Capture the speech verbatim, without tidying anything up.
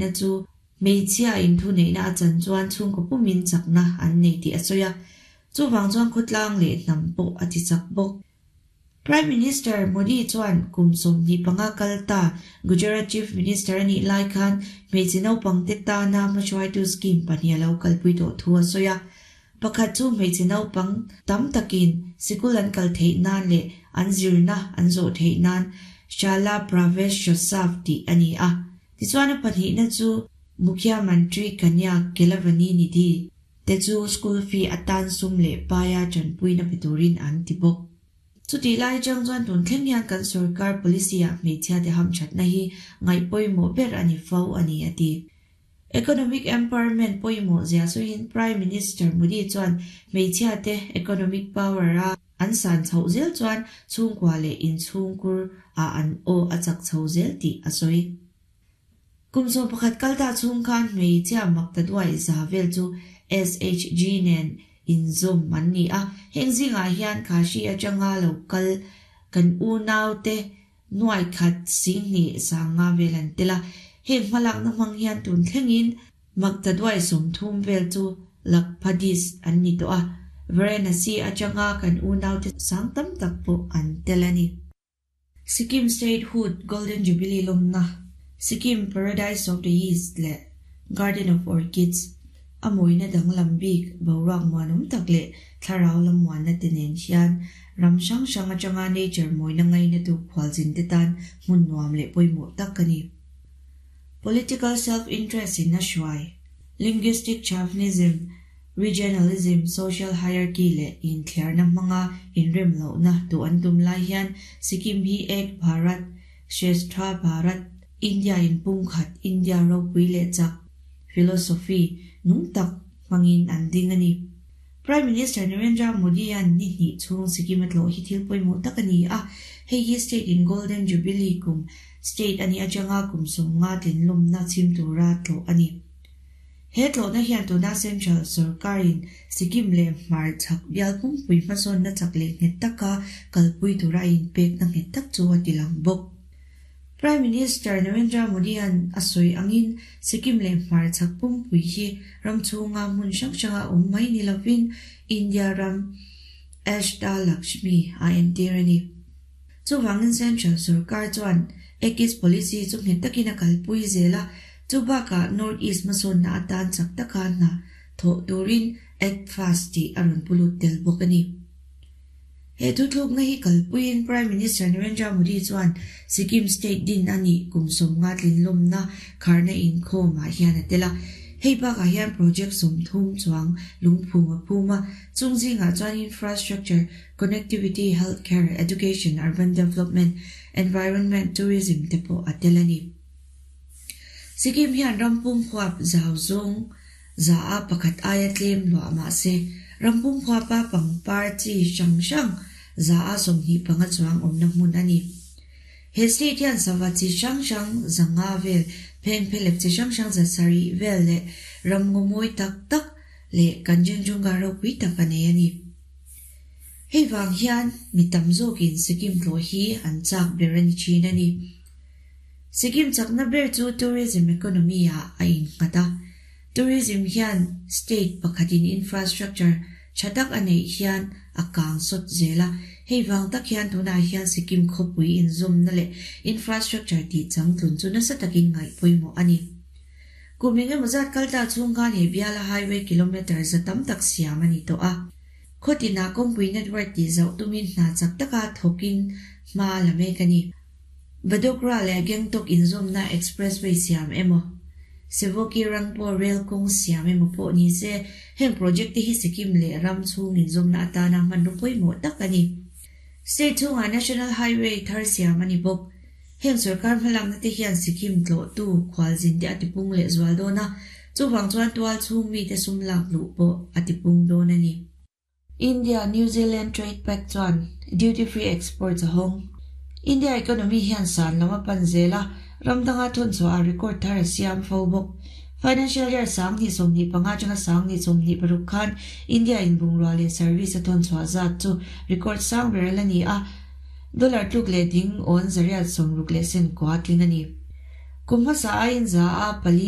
neihna chu hmeichhia in thu neihna a chan chuan chhungkaw pumin chakna an nei tih a sawi a chuwang chuan khawtlang leh hnam pawh a ti chak bawk Prime Minister Modi chuan kum sawmhnih panga kalta Gujarat Chief Minister ani lai khan hmeichhe naupang te tana hmahruaitu scheme pahnih a lo kalpui tawh thu a sawi a pakhat chu hmeichhe naupang tam takin sikul an kal theih nan leh an zirna an zawh theih nan Shala Praveshotsav tih ani a tichuan a pahnihna chu Mukhya Mantri Kanya Kelavani Nidhi te chu school fee atan sum leh paia chanpuina peturin an ti bawk chuti lai chang chuan tun thleng hian kan sarkar policy a hmeichhia te ham thatna hi ngai pawimawh ber ani fo ani ati Economic empowerment pawimawh zia suin Prime Minister Modi chuan hmeichhia te economic power a an san chho zel chuan chhungkua leh inchhungkur a an aw a chak chho zel tih a sawi kum sawm pakhat kalta chhung khan hmeichhia makta duai za vel chu S H G nen inzawm an ni a heng zingah hian khashi atanga lo kal kan unau te nuai khat sing ni sanga vel an tela heng hmalakna hmang hian tun thlengin makta duai sawmthum vel chu lakphadis an ni tawh a Varanasi atanga kan unau te sang tam tak pawh an tel ani Sikkim Statehood Golden Jubilee lawmna Sikkim Paradise of the East le Garden of Orchids a mawina danglam bik boruak muanawm tak leh thlarau lam muanna te nen hian ram hrang hrang atanga nature mawina ngaina tu khualzin te tan hmun nuam leh pawimawh tak ani political self-interest in a hruai linguistic chauvinism regionalism social hierarchy leh inthliarna hmanga inrem lohna tu an tum lai hian Sikkim hi Ek Bharat Shreshtha Bharat India in pumkhat India ropui leh chak philosophy nung tak hmangin an ding ani Prime Minister Narendra Modi an ni hnih chhung Sikkim a tlawh hi thil pawimawh tak ani a hei hi state in Golden Jubilee kum state ani atanga kum sawmnga tlinlawmna chhim tura tlawh ani he tlawhna hian tuna Central sarkarin Sikkim leh hmar chak bial pumpui hmasawnna chak leh nghet taka kalpui tura a inpekna nghet tak chu a ti lang bawk Prime Minister Narendra Modi an a sawi angin Sikkim leh hmar chak pumpui hi ram chhunga hmun hrang hranga awm mai ni lovin India ram Ashta Lakshmi a entir ani chuwangin Central sarkar chuan Act East policy chu nghet takin a kalpui zela chubaka North East hmasawnna atan chak taka hna thawh turin Act Fast tih a rawn pulut tel bawk ani he thuthlukna hi kalpuiin Prime Minister Narendra Modi chuan Sikkim State din ani kum sawmnga tlinlawmna kharna inkhawmah hian a tel a hei bakah hian project sawmthum chuang lungphum a phum a chung zingah chuan infrastructure connectivity healthcare education urban development environment tourism te pawh a tel ani Sikkim hian rampum huap zau zawng za a pakhat aia tlem luah mahse rampum huapa pangpar chi hrang hrang za a sawmhnih panga chuang awmna hmun ani he state hian sava chi hrang hrang zanga vel pheng phelep chi hrang hrang za sarih vel leh ramngaw mawi tak tak leh Kanchenjunga ropui tak a nei ani hei wang hian mi tam zawkin Sikkim tlawh hi an chak ber ani thin ani Sikkim chakna ber chu tourism economy ah a innghat a tourism hian state pakhatin infrastructure thatak a neih hian a kang sawt zel a hei wang tak hian tunah hian Sikkim khawpui inzawmna leh infrastructure tih changtlun chu nasa takin ngaih pawimawh ani kum engemaw zat kalta chhung khan he biala highway kilometer za tam tak siam ani tawh a khawtina kawngpui network tih zauh tumin hna chak taka thawkin hma la mek ani Vadodara leh Gangtok inzawmna expressway siam emaw Sevoke Rangpo rail kawng siam emaw pawh ni se heng project te hi Sikkim leh ram chhung inzawmna atana hmanraw pawimawh tak ani state chhungah National Highway thar siam ani bawk heng sarkar hmalakna te hian Sikkim tlawh tu khualzin te a tipung leh zual dawn a chuwang chuan tual chhung mi te sum lak luh pawh a tipung dawn ani India New Zealand Trade Pact chuan duty free exports a hawng India economy hian san lama pan zela ramdanga thun chu a record thar a siam fo bawk financial year sang ni sawmhnih panga atanga sang ni sawmhnih paruk khan India in bungrua leh service a thun chhuah zat chu record sang ber la ni a dollar tluk leh ding awn zariat sawmruk leh sen kwa tling ani kum hmasa a in za a pali